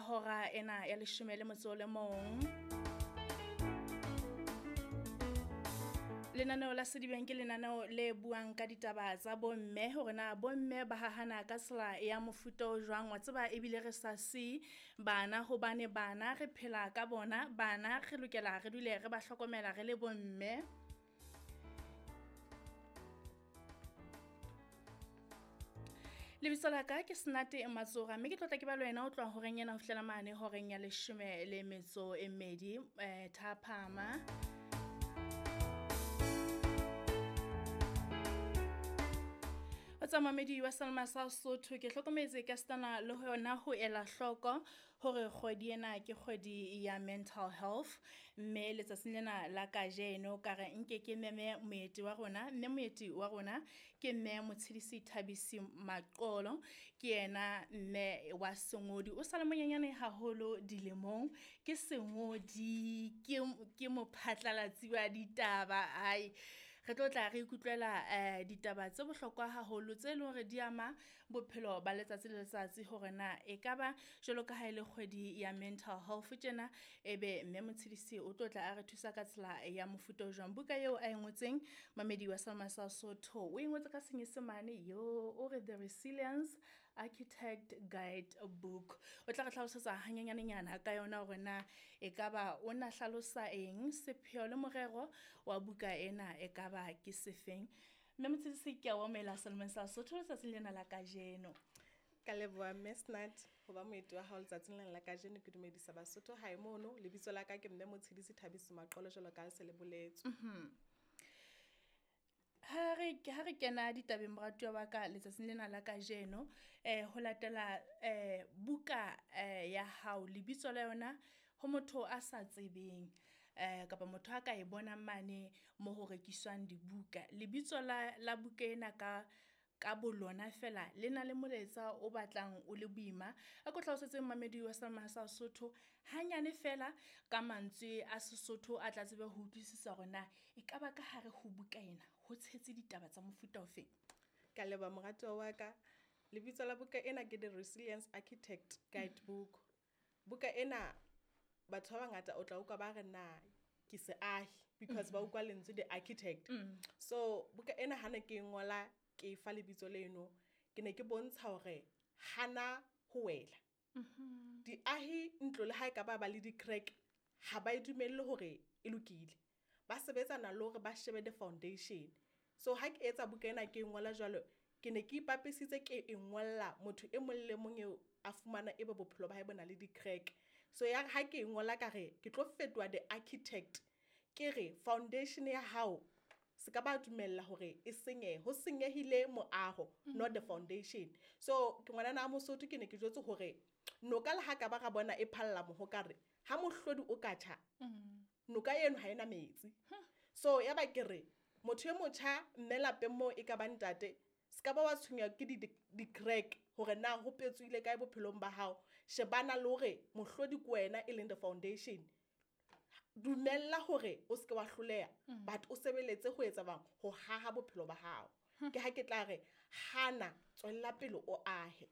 hora ena ya 11. Lenaneo la Sedibeng ke lenaneo le buang ka ditaba tsa bomme, hore na bomme ba hahana ka tsela ya mofuta o jwang. Wa tseba ebile re sa si bana, hobane bana re phela ka bona, bana re lokela re dule re ba hlokomela re le bomme. Lebitso la ka ke Senate Matsora, mme ke tlotla ke ba le wena o tloha horeng ena ho fihlela mane horeng ya 12 thapama. Tsamamedi wa Salma sa Sotho, ke hlokometse ka stana le hona ho ela hloko hore kgwedi ena ke kgwedi ya mental health, mme letsatsing lena la kajeno ka re nke ke meme moeti wa rona, mme moeti wa rona ke mme Motshidisi Thabisi Maqolo. Ke yena mme wa sengodi, o sale monyenyane haholo dilemong, ke sengodi, ke mophatlalatsi wa ditaba. Ai, re tlo tla re ikutlwela ditaba tse bohlokwa haholo tse leng hore di ama bophelo ba letsatsi le letsatsi, hore na ekaba jwalo ka ha ile kgwedi ya mental health tjena, ebe mme Motshidisi o tlo tla a re thusa ka tsela ya mofuta o jwang. Buka eo a e ngotseng, mamedi wa Salma sa Sotho, o e ngotse ka Senyesemane, yo o re The Resilience Architect Guide Book. O tla re hlalosetsa hanyenyanenyana ka yona hore na ekaba o na hlalosa eng, sepheo le morero wa buka ena ekaba ke sefeng. Mme Motshidisi, ke a o amohela Salma sa Sotho letsatsing lena la kajeno. Ka leboha mme Senate ho ba moeti wa hao letsatsing lena la kajeno. Ke dumedisa Basotho hae mono. Lebitso la ka ke mme Motshidisi Thabisi Maqolo, jwalo ka ha se le boletswe. Ha re kena ditabeng moratuwa wa ka letsatsing lena la kajeno, ho latela buka ya hao, lebitso la yona ho motho a sa tsebeng kapa motho a ka e bonang mane mo ho rekiswang dibuka, lebitso la buka ena ka bolona fela le na le molaetsa o batlang o le boima. A ko hlalosetse mmamedi wa Salma sa Sotho hanyane fela ka mantswe a Sesotho a tla tsebe ho utlwisisa hore na ekaba ka hare ho buka ena ho tshetse ditaba tsa mofuta ofe. Ka leboha moratuwa wa ka. Lebitso la buka ena ke The Resilience Architect Guide Book. Buka ena batho ba bangata o tla utlwa ba re na ke seahi, because ba utlwa lentswe the architect. So buka ena ha ne ke ngola ke fa lebitso leno, ke ne ke bontsha hore hana ho wela. Diahi ntlo le ha e ka ba le di-crack, ha ba e dumelle hore e lokile. Ba sebetsana le hore ba shebe the foundation. So ha ke etsa buka ena ke ngola jwalo, ke ne ke ipapisitse ke e ngolla motho e mong le mong eo a fumana ebe bophelo ba hae bo na le di-crack. So ya ha ke ngola ka re ke tlo fetoha the architect, ke re foundation ya hao se ka ba dumella hore e senyehe, ho senyehile moaho, not the foundation. So ke ngwanana a Mosotho, ke ne ke jwetse hore noka le ha ka ba ra bona e phalla mohokare, ha mohlodi o ka tjha, noka eno ha ena metsi. So ya ba ke re motho e motjha mme lapeng moo e ka ba ntate, se ka ba wa tshwenywa ke di-crack hore na ho petswile kae bophelong ba hao. Shebana le hore mohlodi ke wena e leng the foundation. Dumella hore o seke wa hloleha, but o sebeletse ho etsa bang ho haha bophelo ba hao. Ke ha ke tla re hana, tswella pele o ahe.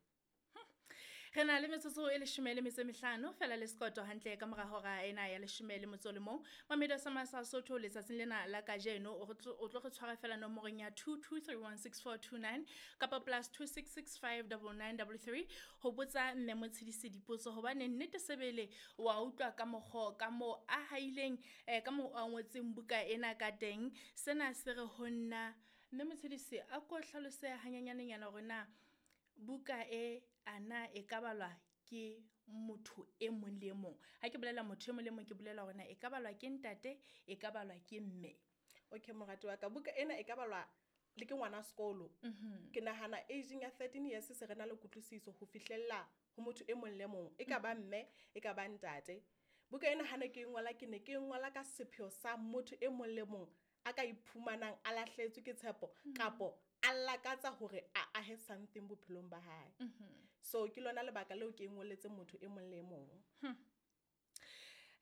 Re na le metsotso e 15 fela le sekoto hantle ka mora hora ena ya 11. Mamedi wa Salma sa Sotho letsatsing lena la kajeno o tlo re tshwara fela nomorong ya 22316429 kapa +26659933 ho botsa mme Motshidisi dipotso, hobane nnete sebele wa utlwa ka mokgo ka mo a haileng ka mo a ngotseng buka ena ka teng. Sena se re ho nna mme Motshidisi a ko hlalose hanyenyanenyana hore na buka e ana e ka balwa ke motho e mong le mong. Ha ke bolela motho e mong le mong, ke bolela hore na e ka balwa ke ntate, e ka balwa ke mme. Okay morati wa ka, buka ena e ka balwa le ke ngwana sekolo. Ke nahana aging ya 13 years se re na le kutlwisiso ho fihlella ho motho e mong le mong, e ka ba mme, e ka ba ntate. Buka ena ha ne ke ngola, ke ne ke ngola ka sepheo sa motho e mong le mong a ka iphumanang a lahletswe ke tshepo kapo a lakatsa hore a ahe something bophelong ba hae. So ke lona lebaka leo ke ngoletse motho e mong le mong.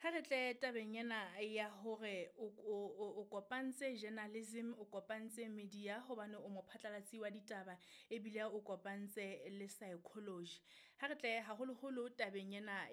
Ha re tle tabeng ena ya hore o kopantse journalism, o kopantse media hobane o mophatlalatsi wa ditaba, ebile o kopantse le psychology. Ha re tle haholoholo tabeng ena